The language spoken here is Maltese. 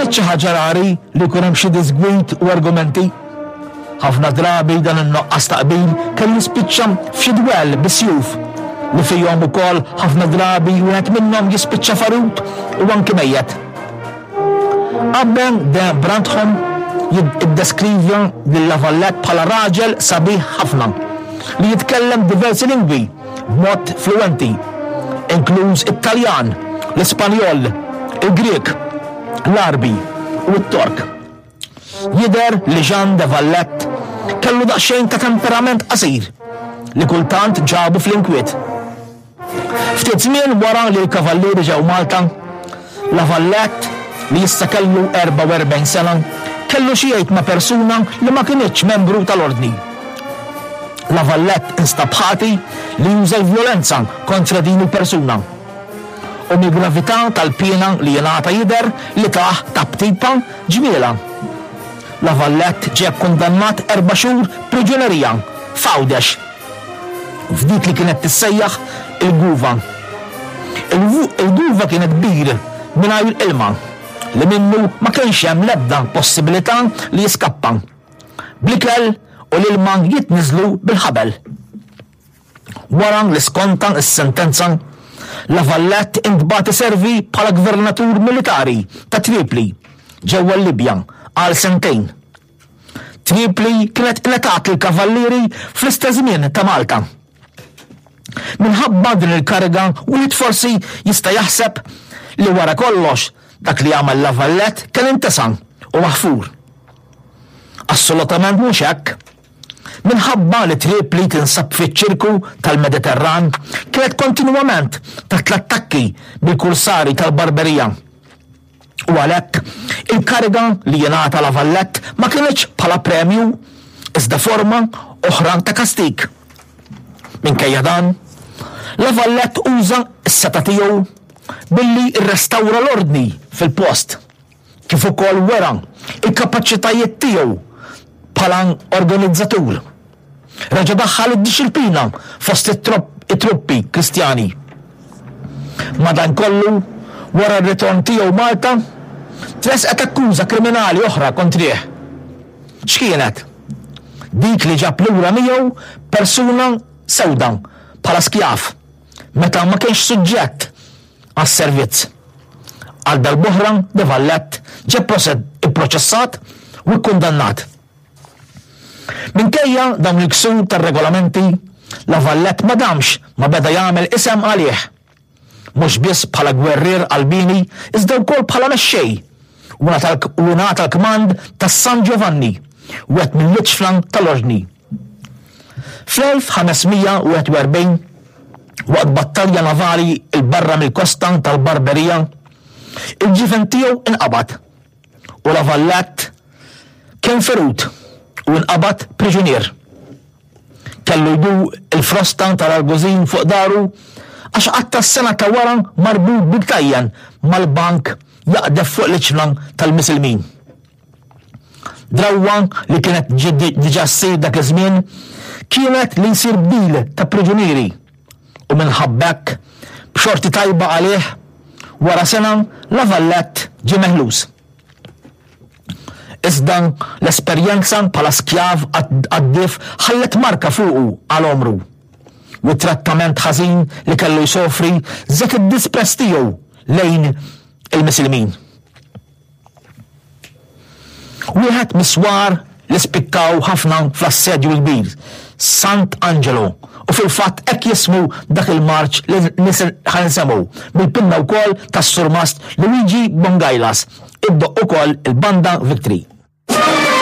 kinitx xi ħaġa rari li jkun hemm xi diżgwid u argumenti. Ħafna drabi dan in-nuqqas ta' qbil kellu jispiċċa f'xi dwell bis-sjuf, li fihom ukoll ħafna drabi wieħed minnhom jispiċċa ferut u anki mejjet. Abbe de Brantholm iddeskrivja lil La Valette bħala raġel sabiħ ħafna li jitkellem diversi lingwi b'mod fluwenti, inkluż it-Taljan, l-Ispanjol, il-Grieg, l-Għarbi u t-Tork. Jidher li Jean de Valette kellu daqsxejn ta' temperament qasir li kultant ġabu fl-inkwiet. Ftit żmien wara li l-Kavallieri ġew Malta, La Valette, li issa kellu 44 sena, kellu xi jgħid ma' persuna li ma kinitx membru tal-Ordni. La Valette instab ħati li juża l-vjolenza kontra din il-persuna. U mill-gravità tal-piena li jingħata jidher li tah taptipa ġmielha. La Valette ġie kkundannat erba' xhur priġunerija f'Għawdex, f'dik li kienet tissejjaħ il-Guva. Il-Guva kienet bir mingħajr ilma li minnu ma kienx hemm l-ebda possibilità li jiskappa. Bl-ikel u l-ilma jitniżżlu bil-ħabel. Wara li skonta s-sentenza, La Valette intbagħat iservi bħala gvernatur militari ta' Tripli, ġewwa l-Libja, għal sentejn. Tripli kienet ingħatat lill-Kavallieri fl-istess żmien ta' Malta. Minħabba din il-kariga wieħed forsi jista' jaħseb li wara kollox dak li għamel La Valette kien intesa u maħfur. Assolutament mhux hekk. Minħabba li Tripli tinsab fiċ-ċirku tal-Mediterran kienet kontinwament taħt l-attakki mill-kursari tal-Barberija. U għalhekk il-kariga li jingħata La Valette ma kinitx bħala premju iżda forma oħra ta' kastig. Minkejja dan, La Valette uża s-setgħa tiegħu billi rrestawra l-ordni fil-post, kif ukoll wera l-kapaċitajiet tiegħu bħala organizzatur. Reġa' daħħal id-dixxilpina fost it-truppi Kristjani. Madankollu, wara r-ritorn tiegħu Malta, tressqet akkuża kriminali oħra kontrih. X'kienet? Dik li ġab lura miegħu persuna sewda bħala skjav meta ma kienx suġġett għas-servizz. Għal darb'oħra De Valette ġie pproċessat u kkundannat. Minkejja dawn il-ksur tar-regolamenti, La Valette ma damx ma beda jagħmel isem għalih, mhux biss bħala gwerrier qalbieni iżda wkoll bħala mexxej u ngħata l-kmand tas-San Giovanni, wieħed mill-iġfna tal-Ordni. Fl-1541, waqt battalja navali 'l barra mill-kosta tal-Barberija, il-ġifen tiegħu inqabad u La Valette kien ferut u nqabad priġunier. Kellu jdur il-frosta tal-argużin fuq daru għax qatta' s-sena ta' wara marbut bil-ktajjen mal-bank jaqdef fuq l-iċna tal-Misilmin. Drawwa li kienet diġà ssir dak iż-żmien kienet li jsir bdil ta' priġunieri u minħabba hekk, b'xorti tajba għalih, wara sena La Valette ġie meħlus. Iżda l-esperjenza bħala skjav qaddif ħallet marka fuqu għal għomru, u t-trattament ħażin li kellu jsofri żied id-disprezz tiegħu lejn il-Misilmin. Wieħed mis-swar li spikkaw ħafna fl-Assedju l-Kbir, Sant Angelo, u fil-fatt hekk jismu dak il-marċ li ħa nsemgħu mill-pinna wkoll tas-Surmast Luigi Bongailas, iddoqq ukoll il-Banda Victory.